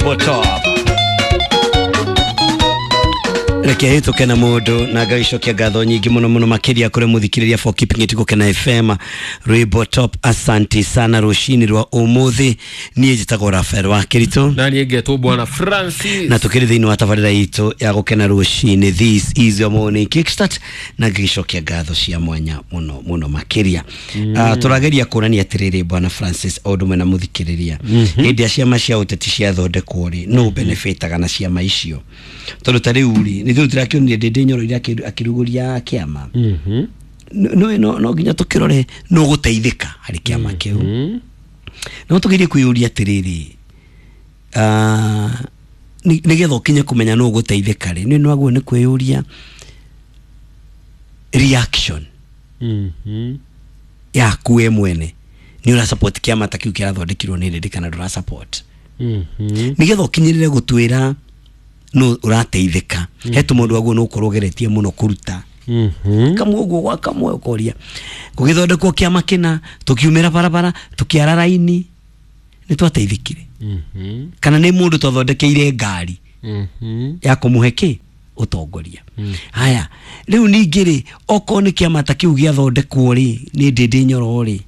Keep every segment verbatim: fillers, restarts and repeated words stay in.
Top reke hituke na mundu na ngagicokia ngatho nyingi muno muno makiria kuri muthikiriria for keeping it Gukena F M rwimbo top. Asante sana rucini rwa umuthi. Nie njitagwo Rafael wa Kirito na nie ngetwo Bwana Francis na tukiri thiini wa tabarira itu ya Gukena rucini. This is your morning kickstart na ngagicokia ngatho cia mwanya muno muno makiria. Mm. Uh, turageria kuonania atiriri Bwana Francis o ndume na muthikiriria hindi ya ciama cia uteti ciathondekwo ri no benefitaga na ciama icio tondu ta riu ri nithu turakionire Ndindi Nyoro iria akiruguria kiama. Mhm. No no no nginya tukirore no guteithika hari kiama kiu. No tugerie kwiyuria atiriri ah nigetha ukinye kumenya no guteithika ri ni no ni kwiyuria reaction. Mhm. Yaku we mwene ni ura support kiama ta kiu kirathondekirwo ni Ndindi kana ndura support. Mhm. Nigetha ukinyirire gutwira no urateithika mm. Hetu mundu waguo no ukorwo ugeretie muno kuruta mhm kamwe uguo gwa kamwe ukoria gugithondekwo kiama kina tukiumira barabara tukiara raini ni twateithikire. Mhm. Kana ni mundu twathondekeire ngari mhm ya kumuhe ki utongoria. Mm. Haya riu ningi ri okorwo ni kiama ta kiu giathondekwo ri ni Ndindi Nyoro ri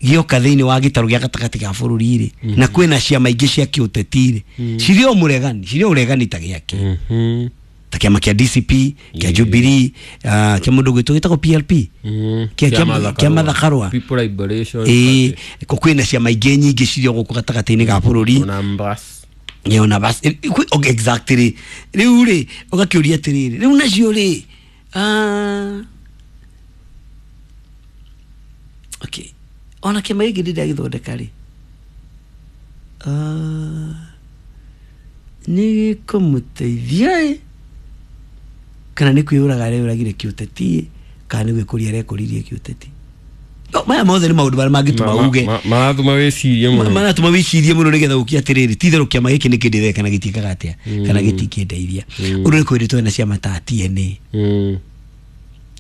gioka thiini wa gitaru gia gatagati ga bururi ri mm -hmm. na kwina ciama ingi cia kiuteti ri mm -hmm. cirio muregani cirio uregani ta giake mm -hmm. ta kiama kia D C P kia yeah. Jubilee uh, kia mundu gwitwo gitagwo P L P mm -hmm. kia kia Martha Karua People Liberation eh kwina ciama ingi nyingi cirio guku gatagati-ini ga bururi ona mbas ona bas okay, exactly riu ri ugakiuria atiriri riu nacio ri ah okay ona kĩama gĩkĩ ndĩ ndagĩthondeka rĩ nĩ gĩkũmũteithia ĩ kana nĩ kwĩyũraga areyũragire kĩũteti kana nĩ gwĩkũria arekũririe kĩũteti. No maya mothe nĩ maũndũ marĩa mangĩtũma uge maratũma wĩcirie mũno maratũma wĩcirie mũno nĩgetha ũkie atĩrĩrĩ ti itherũ kĩama gĩkĩ nĩ kĩndeithia kana gĩtiĩkaga atĩa kana gĩtikĩndeithia. Ũndũ nĩ kwĩrĩ twena ciama ta T N A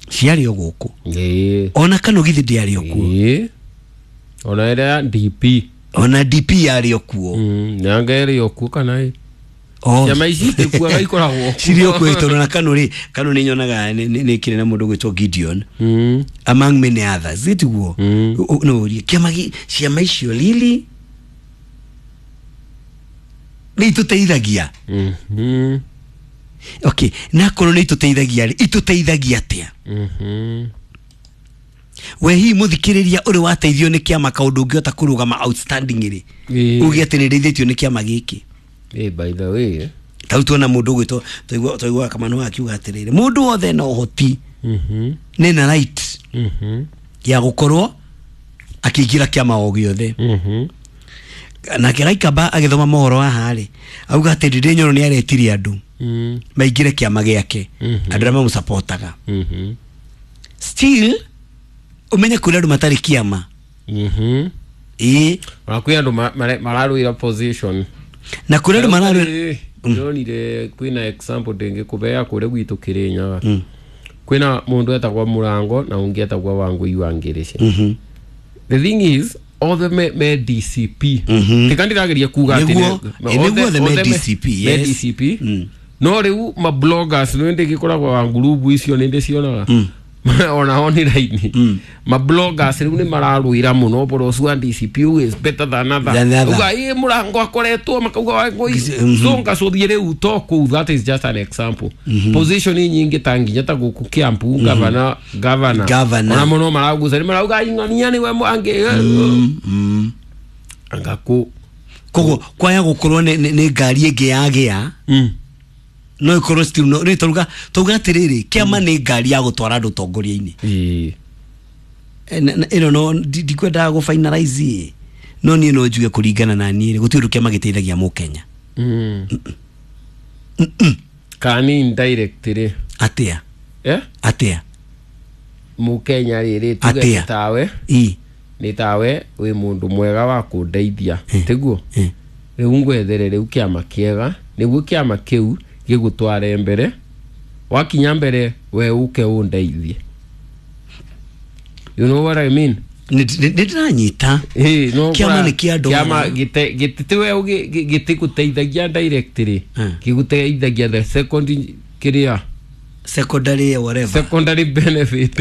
ciarĩ o gũkũ ona kana githĩ ndĩarĩ o kuo ona ĩrĩa D P ona D P yarĩ o kuo nanga ĩrĩ o kuo kana ĩ ciama ici itikuaga ikoragwo cirĩ o kuo tondũ na Kanu rĩ Kanu nĩ nyonaga nĩ kĩrĩ na mũndũ ũgwĩtwo Gideon among many others ĩtiguo no ũrie kĩama ciama icio lili nĩ itũteithagia. Okay na korwo nĩ itũteithagia rĩ itũteithagia atĩa? We hihi muthikiriria uri wateithio ni kiama kaundu ungiota kurugama outstanding ri uge ati ni ndeithĩtio ni kiama giki. Eh by the way tau tuona mundu gwitwo twaigua twaigua Kamano akiuga atiriri mundu wothe na uhoti mhm ni na right mhm ya gukorwo akiingira kiama o giothe. Mhm. Na kiraikaba agithoma mohoro haha ri auga ati Ndindi Nyoro ni aretirie andu maingire kiama giake andu aria mamusapotaga. Mhm. Still umenye kuri andu matari kiama. Mhm. Ii ona kwi andu mararwira position na kuri andu mararwira ndonire kwina example ndingikubea kuri gwitu Kirinyaga kwina mundu etagwa Murango na ungi etagwa Wangui wa Ngirici. Mhm. The thing is othe me, me D C P mm-hmm. Ndirageria kuga ati niguo the me D C P yes me D C P mm. No riu ma bloggers ni ndigikoragwo wa ngurubu icio ni ndicionaga mm. ona online mm. ma bloggers riu ni mararwira muno boro ucio D C P is better than other uga ii Murango akoretwo makauga Wangui so ngacuthie riu to kuu that is just an example. Mm -hmm. Position nyingi ta nginya ta guku Kiambu governor governor ona muno maraguca ni marauga ing'ania ni we mwangi mm. angaku koguo kwaya gukorwo ni ngari ingi yagia mm. no ikorwo still no ni turuga turuga atiriri kiama ni ngari ya gutwara andu tongoria-ini ii ino no ndikwendaga gu finalize no nie no njuge kuringana na nie gutiri undu kiama giteithagia Mukenya. Mm. Kani indirect ri atia eh atia Mukenya riri tuge tawe ii ni tawe wi mundu mwega wa kundeithia tiguo riu ngwethere riu kiama kiega niguo kiama kiu gigutware mbere wakinya mbere we uke undeithie. You know what I mean? Nĩ ndĩranyita. Ĩĩ, no Kĩama ũkora nĩ kĩa andũ kĩama ara. gĩte- gĩtitiwe gĩtigũteithagia directly, Mm. gĩgũteithagia the second kĩrĩa Secondary, whatever. Secondary benefit.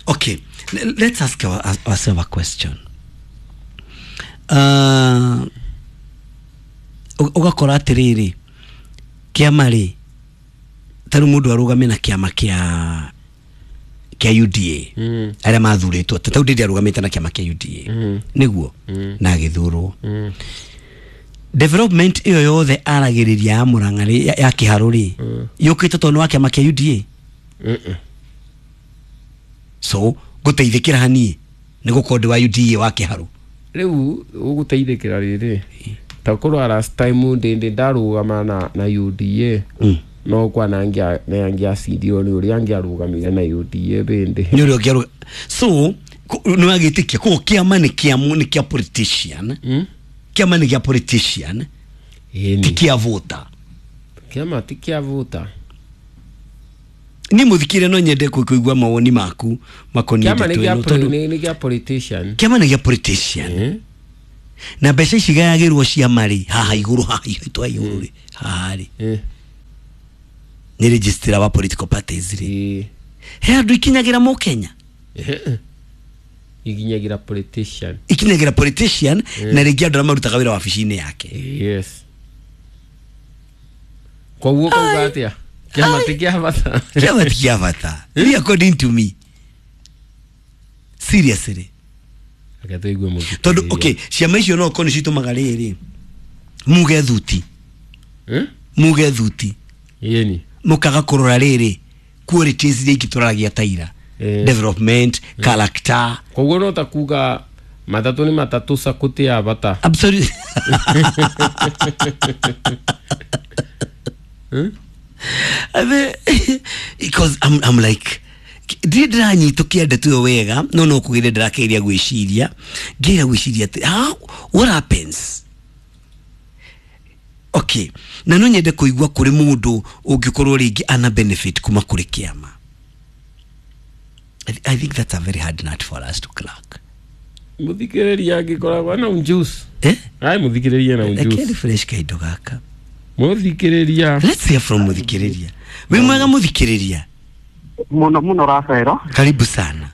Okay, L- let's ask our, ourselves a question. Uh, ũgakora atĩrĩrĩ, kĩama rĩ, ta rĩu mũndũ arũgame na kĩama kĩa kĩa U D A, Mm. arĩa mathurĩtwo, ta rĩu ndĩndĩ arũgamĩte na kĩama kĩa U D A, Mm. nĩguo Mm. na agĩthurwo, Mm. development ĩyo yothe aragĩrĩria ya Mũrang'a rĩ, ya, ya Kĩharũ rĩ, Mm. yũkĩte tondũ nĩ wa kĩama kĩa U D A. Mm-mm. So ngũteithĩkĩra haniĩ nĩ gũkorwo ndĩ wa U D A wa Kĩharũ? Rĩu ũgũteithĩkĩra rĩrĩ, ta korwa last time ndĩndĩ ndarũgama na, na U D A, Mm. no kwana angĩacindirwo nĩ ũrĩa angĩarũgamire na U D A bĩndĩ. Nĩ ũrĩa ũngĩarũga. So nĩ wagĩtĩkia koguo kĩama nĩ kĩa nĩ kĩa politician? Mm? Kĩama nĩ kĩa politician, ti Ĩni. kĩa voter? Kĩama ti kĩa voter. Niĩ mũthikĩre no nyende kũ- kũigua mawoni maku makoniĩ Kĩama nĩ ndeto kĩa ĩno, poli- tondũ nĩ nĩ kĩa politician. Kĩama nĩ gĩa politician. Eh? Na mbeca ici gayagĩrwo ciama rĩ, haha igũrũ, haha itwa igũrũ rĩ, haha rĩ, Eh. nĩ registrar wa political parties rĩ, Ĩĩ. he andũ ikinyagĩra mũkenya? Eh. Ikinyagira politician. Ikinyagĩra politician na rĩngĩ andũ arĩa marutaga wĩra wabici-inĩ yake. Yes, koguo kauga atĩa, kĩama ti kĩa bata. Kĩama ti kĩa bata. Really, according to me, seriously. Reke tũigue mũthikĩrĩria. Tondũ okay, ciama icio no korwo nĩ citũmaga rĩrĩ muge thuti, Eh? muge thuti, Ĩni. mũkaga kũrora rĩrĩ qualities iria ingĩ tũraragia taira, Eh. development, character. Koguo no ta kuga matatũ nĩ matatũ, sacco ti ya bata? Absolutely. Eh? Ave- because I'm, I'm like, ndirĩ ndĩranyitũkia ndeto ĩyo wega, no no kũgĩre ndĩrakeria gwĩciria, ngĩra gwĩciria atĩ how, what happens. Okay, na no nyende kũigua kũrĩ mũndũ ũngĩkorwo rĩngĩ ana benefit kuma kũrĩ kĩama. I, th I think that's a very hard nut for us to crack. Mũthikĩrĩria angĩkoragwo na unjuice. Eh? Ai, mũthikĩrĩria na Reke unjuice. Refresh kaindo gaka. Mũthikĩrĩria. Let's hear from mũthikĩrĩria. Wĩ mwega, mũthikĩrĩria? Muno muno, Rafaelo. Karibu sana.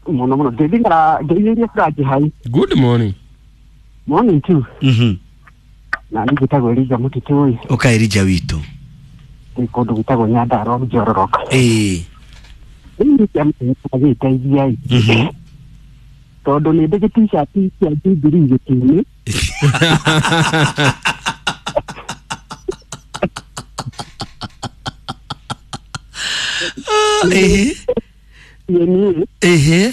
Muno muno, ndĩthigara ngeithĩrie Franji hai. Good morning. Morning too. Mhm. Na niĩ njĩtagwo Elija Mũtitũ. Ũka, Elija witũ. Ndĩ kũndũ gwĩtagwo Nyandarua, Njororoka. Ĩĩ. Rĩu nĩ kĩama gĩteithia ĩ, Mhm. tondũ nĩ ndĩ gĩ-T-shirt kĩa Jubilee gĩtĩ-inĩ. Ĩhĩ. Niĩ Ĩhĩ.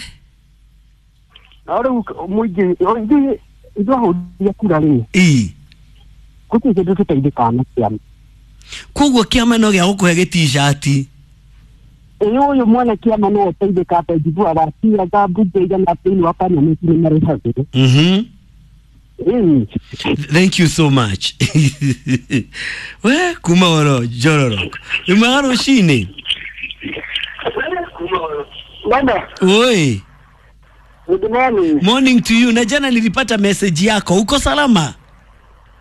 No rĩu mũingĩ ithuĩ ithuĩ ahũri a kura rĩ, Ĩ. gũtirĩ kĩndũ tũteithĩkaga na kĩama. Koguo kĩama no gĩa gũkũhe gĩ-T-shirt? Ĩ, ũyũ mwene kĩama no ũteithĩka, atĩ njiguaga ciaga mbunge igana thĩinĩ wa parliament nĩ marĩhagĩrwo. Mhm. Ĩni. Thank you so much. We kuma oro Njororo. Wĩ mwega rũcinĩ? Baba, Oi. Good morning. Morning to you. Na jana nilipata message yako. Uko salama?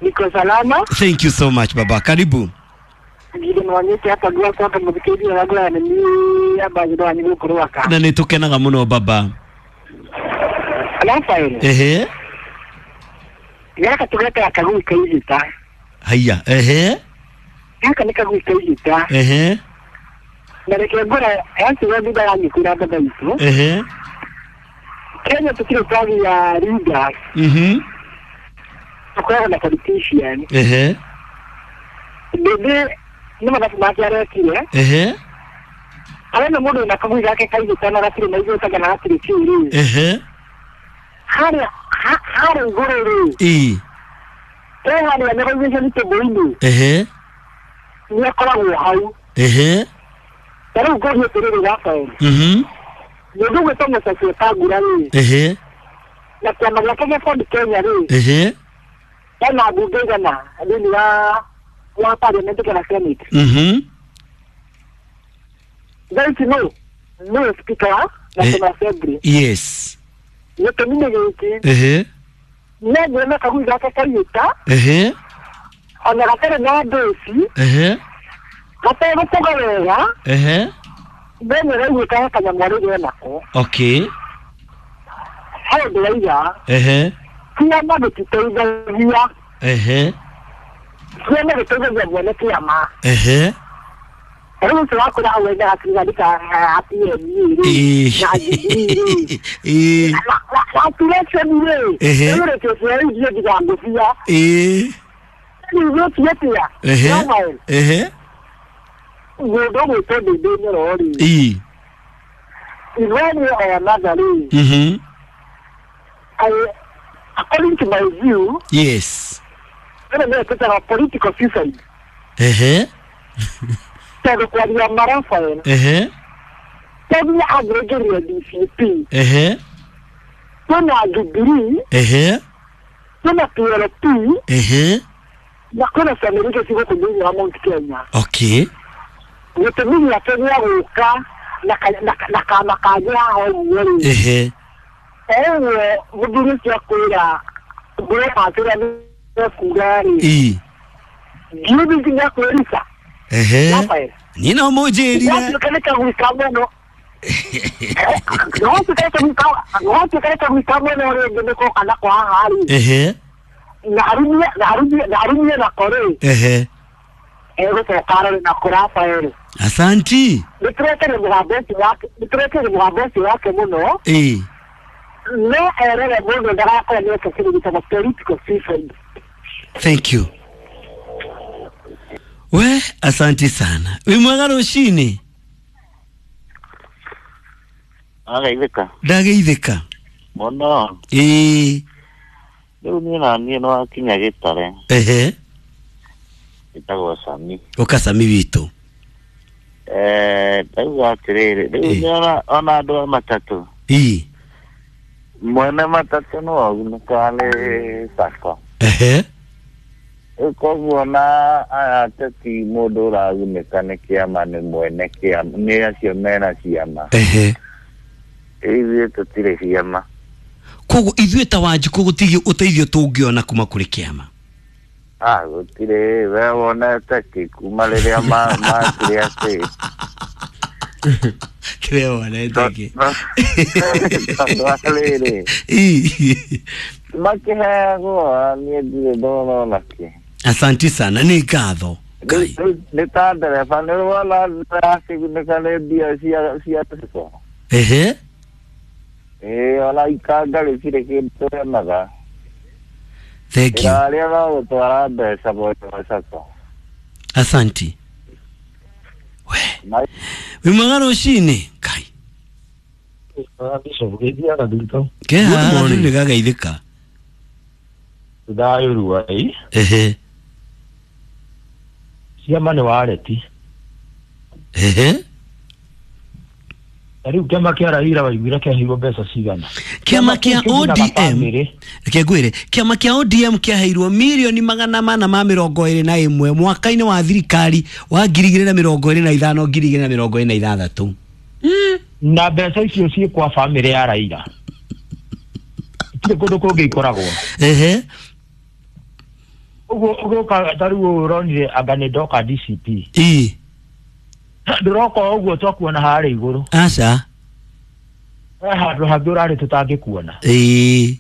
Niko salama. Thank you so much, baba. Karibu. Ngire nwanyite hapa gwakwa hapa mũthikĩrĩria wa ngũrani nĩ ambagĩrwo wanyu gũkũ Rwaka. Na nĩ tũkenaga mũno, baba. Rafael, Ehe. gaka tũgetaga kagui ka igita. Haya. Ehe. Gaka nĩ kagui ka igita. Ehe. Na reke ngũra yaciwe thutha ya nyikura baba itũ. Ehe. Kenya tũtirĩ twagĩa leaders, Mhm. tũkoragwo na politician. Ehe. Ndĩndĩ nĩ mathabu make arekire. Ehe. Arena mũndũ wĩna kagui gake ka igita na gatirĩ na igũrũ kana gatirĩ kĩu rĩ. Ehe. Harĩa ha- harĩa igũrũ rĩ, Ĩ. he harĩa negotiation table-inĩ, Ehe. nĩ akoragwo hau. Ehe. Ta rĩu ngũrie atĩrĩrĩ, Rafael, Mhm. mũndũ ũgwĩtwo Moses Wetangula rĩ, Ehe. na kĩama gĩake gĩa Ford Kenya rĩ, Ehe. hena mbunge igana thĩinĩ wa wa parliament kana senate? Mhm. Thaa ici nũ nĩwe speaker wa National Assembly. Yes. Gĩtũmi nĩ gĩkĩ. Ehe. No ngwĩre kagui gake kaiyũta. Ehe. Ona gatarĩ na ndũci. Ehe. Gategũkũga wega. Ehe. Mbere raiguĩka he kanyamũ arĩ nako. Okay. Hau ndĩraiga. Ehe. Kĩama gĩtiteithagia. Ehe. Kĩama gĩteithagia mwene kĩama. Ehe. Rĩu ũcio wakũra hau wendaga kiuga P M rĩ na Jubilee rĩ. Calculation rĩ. Ehe. Rĩu rĩkĩo rĩu ithuĩ ndigangũbia. Ĩĩ. Rĩu gũtiĩ atĩa? Ehe. Ehe. Mũndũ ũgwĩtwo Ndĩndĩ Nyoro rĩ. Ĩĩ. One way or another rĩ. Mhm. According to my view. Yes. Ĩno nĩyo twĩtaga political suicide. Ehe. Tondũ kwaria ma Raphael. Ehe. Tondũ angĩrĩria D C P. Ehe. Kwĩna Jubilee. Ehe. Kwĩna P L P. Ehe. Na kwĩna ciama iria ciĩ gũkũ thĩinĩ wa Mount Kenya. Okay. Gĩtũmi gĩake gĩa gũka na kama kangĩ haha ũguo rĩ. Ehe. Ũguo mũthuri ũcio akwĩra ngũrĩhatĩra nĩ kuga rĩ. Ĩĩ. Ndiũĩ nginya kwĩruta. Ehe. Raphael. Niĩ no mũnjĩrire. Gwatuĩka nĩ kagui ka mũno. Gwatuĩka nĩ kagui ka mũno rĩngĩ nĩ koka nako haha rĩ. Ehe. Na arumie na arumie na arumie nako rĩ. Ehe. Egũcoka arore nako Raphael. Asanti. Nĩ tũretere mũgambo ũcio wake nĩ tũretere mũgambo ũcio wake mũno. Ĩĩ. No erore mũndũ ndagakorwo nĩ eka kĩndũ gĩtagwo political suicide. Thank you. We, asanti sana. Wĩ mwega rũcinĩ? Agaithĩka. Ndageithĩka. Mũno. Ĩĩ. Rĩu niĩ na niĩ no wakinya gĩtare. Ehe. Ĩtagwo Sami. Ũka Sami witũ. Eh, ndauga atĩrĩrĩ, rĩu Ĩĩ. nĩ ona ona andũ a matatũ. Ĩĩ. Mwene matatũ no agunĩkaga nĩ sacco. Ehe. Rĩu koguo na aya ateti mũndũ ũragunĩka nĩ kĩama nĩ mwene kĩama, nĩ acio mena ciama. Ehe. Ithuĩ tũtirĩ ciama. Koguo ithuĩ ta Wanjikũ gũtirĩ ũteithio tũngĩona kuma kũrĩ kĩama. Ah, gũtirĩ, we wonete kĩ kuma rĩrĩa makire atĩ. Kĩrĩa wonete kĩ? Tondũ wa rĩrĩ. Ĩĩ. Makĩheagwo niĩ ndirĩ ndona ona kĩ. Asanti sana, nĩ ngatho. Ngai. Nĩ ta ndereba nĩ wona akĩgunĩka nĩ mbia cia cia sacco. Ehe. Ĩĩ ona ikanga rĩtirĩ kĩndũ tũremaga. Thank you. Ĩrarĩa no gũtwara mbeca mwena wa sacco. Asanti. We. Wĩ mwega rũcinĩ? Ngai. Ke Good haha morning. nĩ gagaithĩka. Thayũ ruai. Ehe. Ciama nĩ wareti. Ehe. Na rĩu kĩama kĩa Raila waiguire kĩaheirwo mbeca cigana? Kĩama kĩa Kĩu kĩgunaga O D M. bamĩrĩ. Reke ngwĩre, kĩama kĩa O D M kĩaheirwo mirioni magana mana ma mĩrongo ĩrĩ na ĩmwe mwaka-inĩ wa thirikari wa ngiri igĩrĩ na mĩrongo ĩrĩ na ithano ngiri igĩrĩ na mĩrongo ĩrĩ na ithathatũ. Na mbeca icio ciĩ kwa bamĩrĩ ya Raila. Itirĩ kũndũ kũngĩ ikoragwo. Ehe. Ũguo ũgũka ta rĩu ũyũ ũronire anga nĩ ndoka D C P. Ĩĩ. Ndũroka ũguo twakuona harĩa igũrũ. Aca. He handũ hangĩ ũrarĩ tũtangĩkuona. Ĩĩ.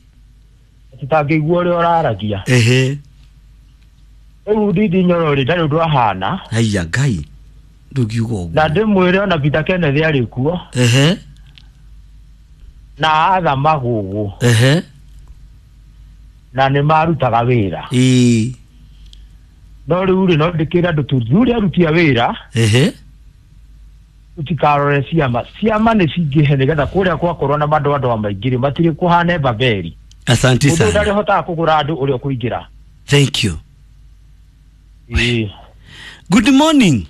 Tũtangĩigua ũrĩa ũraragia. Ehe. Rĩu Ndindi Nyoro rĩ ndarĩ ũndũ ahana. Haiya Ngai. Ndũngiuga ũguo. Na ndĩmwĩre ona Peter Kenneth arĩ kuo. Ehe. Na Arthur Magogo. Ehe. Na nĩ marutaga wĩra. Ĩĩ. No rĩu rĩ no ndĩkĩre andũ tũthure aruti a wĩra. Ehe. Tũtikarore ciama. Ciama nĩ cingĩhe nĩgetha kũrĩa gwakorwo na mandũ andũ maingĩ rĩ matirĩ kũhana Babeli. Asante Mũndũ sana. ndarĩ hotaga kũgũra andũ ũrĩa ũkũingĩra. Thank you. Ĩĩ. Good morning.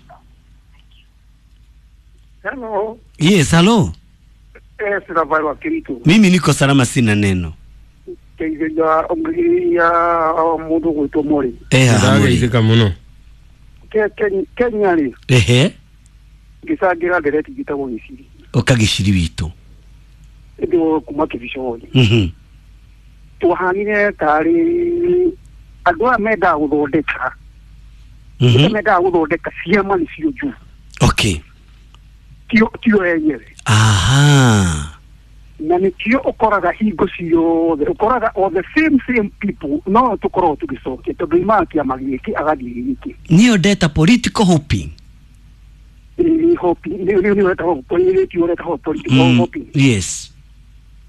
Hello. Yes, hello. Eh, sina wa Kiritu. Mimi niko salama sina neno. Teithia ya mũndũ gwĩtwo Mori. Eh, haha Mori. Ndageithĩka mũno. Ke Kenya rĩ. Ehe. Ngĩcangĩra ndereti njĩtagwo Gĩciri. Ũka Gĩciri witũ. Ndio kuma kibiconi. Mhm. Twahanire tari andũ aya mendaga gũthondeka. Mhm. Mendaga gũthondeka ciama nĩcio njũru. Okay. Tio tio enyewe. Aha. Na nĩkĩo ũkoraga hingo ciothe ũkoraga all the same same people no tũkorwo tũgĩcokia tondũ imaga kĩama gĩkĩ agathiĩ gĩkĩ. Niyo ndeta political hopping. Ĩ hopping nĩ nĩ wetagwo political political hopping. Yes.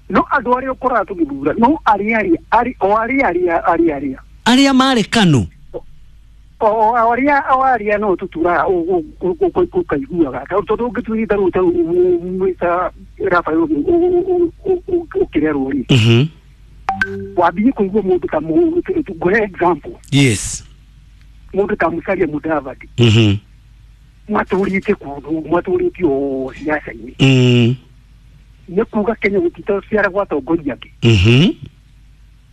No andũ arĩa ũkoraga tũgĩthura no arĩa arĩa arĩ o arĩa arĩa arĩa arĩa Arĩa marĩ Kanu. O arĩa o arĩa no tũturaga ũkaiguaga tondũ ũngĩtuĩka rĩu ta mwĩta Rafael ũkĩrerwo rĩ. Mhm. Wambie kũigua mũndũ ta ngũhe example. Yes. Mũndũ ta Musalia Mudavadi. Mhm. Matũrĩte kũndũ matũrĩte o siasa-inĩ. Mm. Nĩ kuga Kenya gũtitaciaragwo atongoria angĩ. Mhm.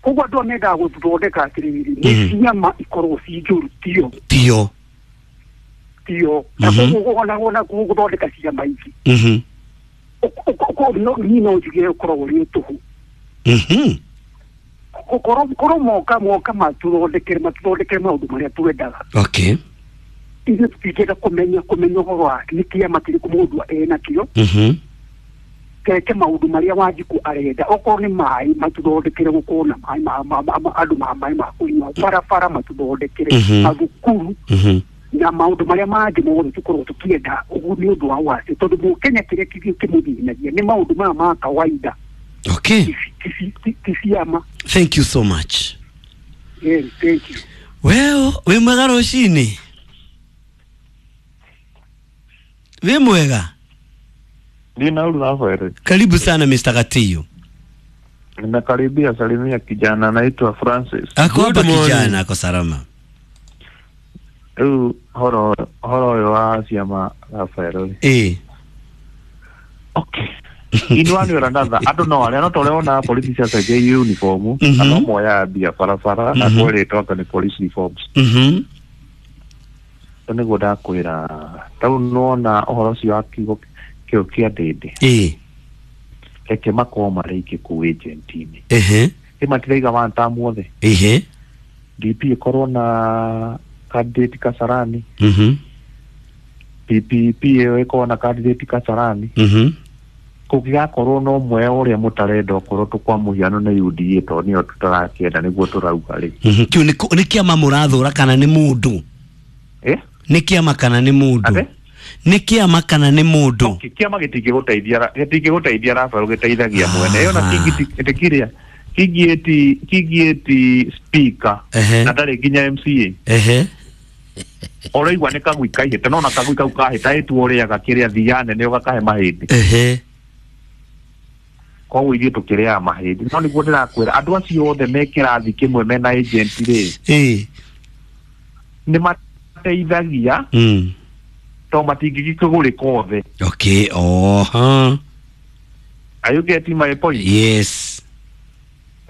Koguo andũ mendaga gũthondeka atĩrĩrĩ nĩ ciama ikorwo ci njũru tio. Tio. Tio. Na koguo ona ona gũthondeka ciama ici. Mhm. Niĩ no njuge ũkoragwo ũrĩ tũhũ. Mhm. Korwo korwo moka moka matũthondekere matũthondekere maũndũ marĩa twendaga. Okay. Ithuĩ tũtingĩenda kũmenya kũmenya ũhoro wa nĩ kĩama kĩrĩkũ mũndũ enakĩo. Mhm. Keke maũndũ marĩa Wanjikũ arenda okorwo nĩ maĩ matũthondekere gũkorwo na maĩ ma andũ ma maĩ ma kũnyua barabara matũthondekere mathukuru na maũndũ marĩa mangĩ mothe tũkorwo tũkĩenda ũguo nĩ ũndũ wa wasi tondũ mũkenya kĩrĩa kĩmũthĩnagia nĩ maũndũ maya ma kawaida. Okay. Ti ciama. Thank you so much. Yeah, thank you. Well, wĩ mwega rũcinĩ? Wĩ mwega? Nina Rafael. Karibu sana Mister Gatiyo. Nimekaribia salimia kijana anaitwa Francis. Ako hapa kijana, ako salama. Rĩu horo horo ũyũ wa ciama Rafael. Eh. Okay. In one way or another, andũ no arĩa no ta ũrĩa wonaga polisi ciacenjia uniform, na no moyaga mbia barabara na kwerĩtwo anga nĩ police reforms. Mhm. Nĩguo ndakwĩra tau nĩwona ũhoro ũcio wa kiugo kĩu kĩa Ndĩndĩ. Eh. Reke makorwo marĩ aingĩ kũu agent-inĩ. Ehe. Ĩ matiraiga one term othe. Ehe. D P ĩkorwo na candidate Kasarani. Mhm. P P P ĩyo ĩkorwo na candidate Kasarani. Mhm. Kũngĩgakorwo no ũmwe ũrĩa mũtarenda okorwo tũkwa mũhiano nĩ U D A tondũ nĩyo tũtarakĩenda nĩguo tũrauga rĩ. Mhm. Kĩu nĩ nĩ kĩama mũrathũra kana nĩ mũndũ? Eh? Nĩ kĩama kana nĩ mũndũ? Nĩ kĩama kana nĩ mũndũ? Okay, kĩama gĩtingĩgũteithia gĩtingĩgũteithia Rafael gĩteithagia mwene. Ĩyo na kĩngĩ kĩngĩ eti kĩngĩ eti speaker na ndarĩ nginya M C A. Ehe. Ũraigua nĩ kagui kaihĩte no na kagui kau kahĩta ĩtuo ũrĩaga kĩrĩa thia nene ũgakahe mahĩndĩ. Ehe. Koguo ithuĩ tũkĩrĩaga mahĩndĩ no nĩguo ndĩrakwĩra andũ acio othe me kĩrathi kĩmwe mena agent rĩ. Ĩĩ. Nĩ mateithagia. Mm. To matingĩgĩkũgũrĩka othe. Okay, oh, huh. Are you getting my point? Yes.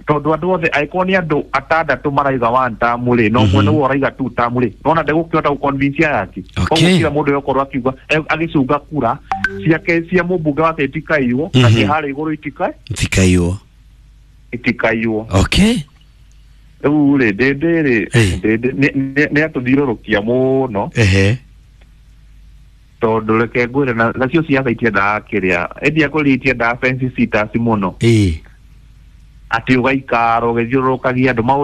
Tondũ andũ othe angĩkorwo nĩ andũ atandatũ maraiga one term rĩ no ũmwe nĩwe ũraiga two term rĩ nona ndegũkĩhota gũconvince aya angĩ. Koguo kila mũndũ egũkorwo akiuga agĩcunga kura ciake cia mũmbunge wake itikaiywo na cia harĩa igũrũ itikai itikaiywo itikaiywo. Okay. Rĩu rĩ Ndĩndĩ rĩ Ndĩndĩ nĩ atũthiũrũrũkia mũno. Ehe. Tondũ reke ngwĩre na nacio ciaca itiendaga kĩrĩa ĩndia kũrĩa itiendaga fence sitters mũno. Ĩĩ. Atĩ ũgaikara ũgĩthiũrũrũkagia andũ maũndũ